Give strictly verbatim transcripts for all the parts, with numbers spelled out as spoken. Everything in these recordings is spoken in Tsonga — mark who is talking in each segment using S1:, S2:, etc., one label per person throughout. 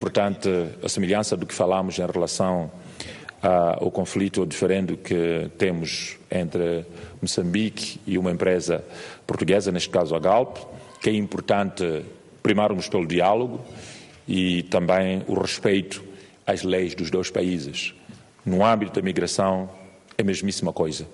S1: Importante a semelhança do que falámos em relação ao conflito diferente que temos entre Moçambique e uma empresa portuguesa, neste caso a Galp, que é importante primarmos pelo diálogo e também o respeito às leis dos dois países. No âmbito da migração, é a mesmíssima coisa.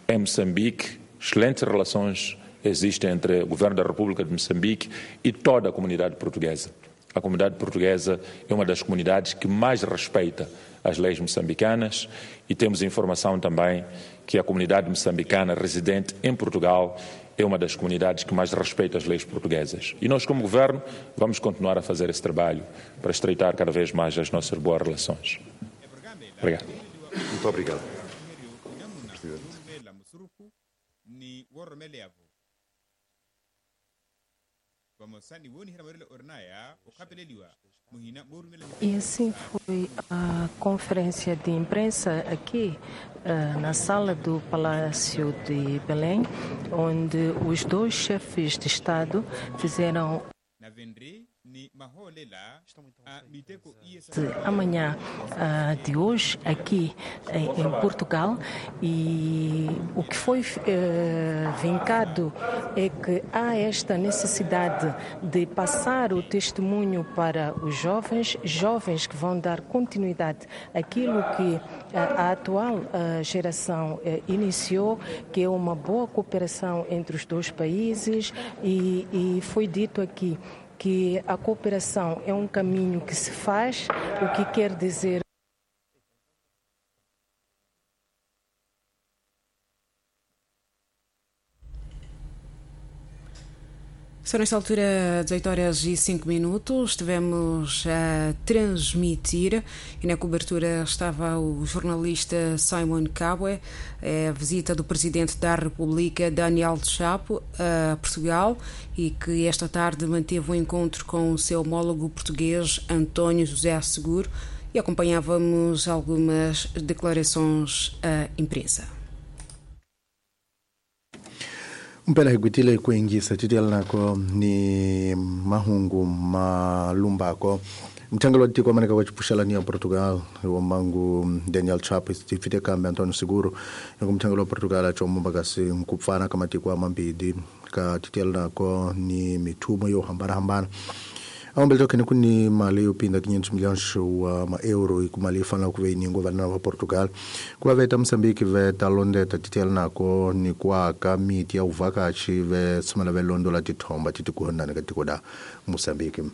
S1: Em Moçambique, excelentes relações existem entre o Governo da República de Moçambique e toda a comunidade portuguesa. A comunidade portuguesa é uma das comunidades que mais respeita as leis moçambicanas e temos informação também que a comunidade moçambicana residente em Portugal é uma das comunidades que mais respeita as leis portuguesas. E nós, como governo, vamos continuar a fazer esse trabalho para estreitar cada vez mais as nossas boas relações. Obrigado.
S2: Muito obrigado, Presidente.
S3: E assim foi a conferência de imprensa aqui na sala do Palácio de Belém, onde os dois chefes de Estado fizeram amanhã de hoje aqui em Portugal, e o que foi eh, vincado é que há esta necessidade de passar o testemunho para os jovens, jovens que vão dar continuidade àquilo que a atual geração iniciou, que é uma boa cooperação entre os dois países, e, e foi dito aqui que a cooperação é um caminho que se faz, o que quer dizer
S4: São nesta altura dezoito horas e cinco minutos, estivemos a transmitir e na cobertura estava o jornalista Simon Kabwe, a visita do Presidente da República Daniel Chapo a Portugal e que esta tarde manteve um encontro com o seu homólogo português António José Seguro e acompanhávamos algumas declarações à imprensa.
S5: Mpela hi gwitile ku yingisa titelelako ni mahungu malumbako mthangelo wa tiko amaneka wa chipuxelani ya Portugal wa mangu Daniel Chapo tifite kambe António Seguro ku mthangelo wa Portugal achomo kasi nkupfana ka matiko a mambidi ka titelelako ni mithumo yo hambanahambana awumbele tokhene ku ni mali yo pinda quinhentos milhões wa ma-euro e ku mali yi fanela ku ve yi nyikiwa vana va Portugal ku va veta Moçambique ve ta londeta titelelako ni ku aka miti ya vuvhakachi ve tshumela ve londola tithomba ti tikuhonani ka tiko da Moçambique.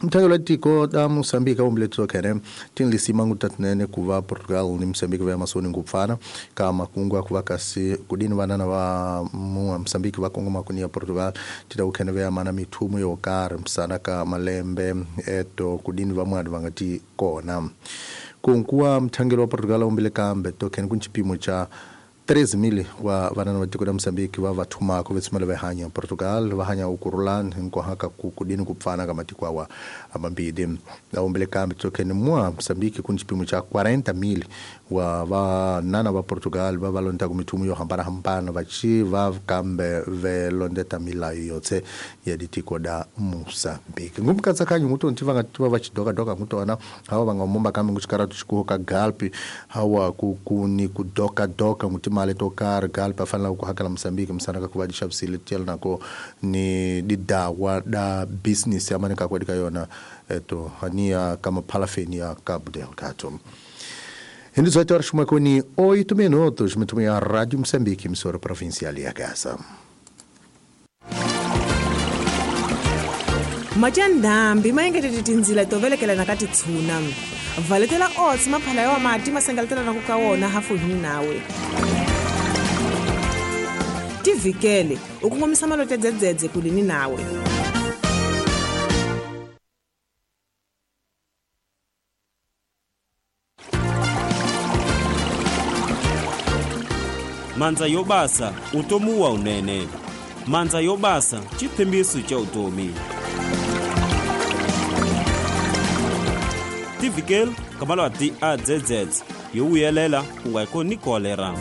S5: Mthangelo wa tiko da Moçambique awumbele tokhene tinlisima ngutatinene ku va Portugal ni Moçambique ve masoni ngupfana ka makungu a ku va kasi kudini vanana va Moçambique va kongoma ku ni ya Portugal tita ku khene ve ya mana mithumo yo karhi msana ka malembe eto kudini van'wana va nga ti kona kunkuwa mthangelo wa Portugal awumbele kambe tokhene ku ni xipimo xa treze mil wa vanana va tiko ra Moçambique va va thumaka va tshama va hanya Portugal va hanya ukurulani hinkwako ku kudini ku pfana ka matiko awa amambili awumbele kambe tokhene mwa Moçambique ku ni xipimo xa quarenta mil wa vanana va Portugal va va londaka mithumo yo hambanahambana va xi va kambe ve londeta milayo yotse ya ditiko da Moçambique ngumkatsakanyo nguto nti va nga tiva va xidokadoka ngutona hawa va nga mumba kambe ngu xikaratu xikuho ka Galp hawa ku ku ni ku dokadoka nguti mali to karhi Galp a fanela ku hakela Moçambique misana ka ku va di xavisile tiyelana ni didawa da business ya maneka kwedi ka yona eto hania kama palafeni ya Cabo Delgado. Em dezoito horas e oito minutos, muito bem, a Rádio Moçambique, emissora provincial e a casa.
S6: Majandambi maengetete tindzila to velekela ka titshuna valetela oats maphala ya mati masengaletela na ku ka wona hafu hi nawe tivikele u kongomisa malote dzedzedze kulini nawe.
S7: Mandza yo basa utomi wa unene. Mandza yo basa xitshembiso xa utomi. Tivikele ka malwati a dzedzedze yo vuyelela ku nga koni kolera.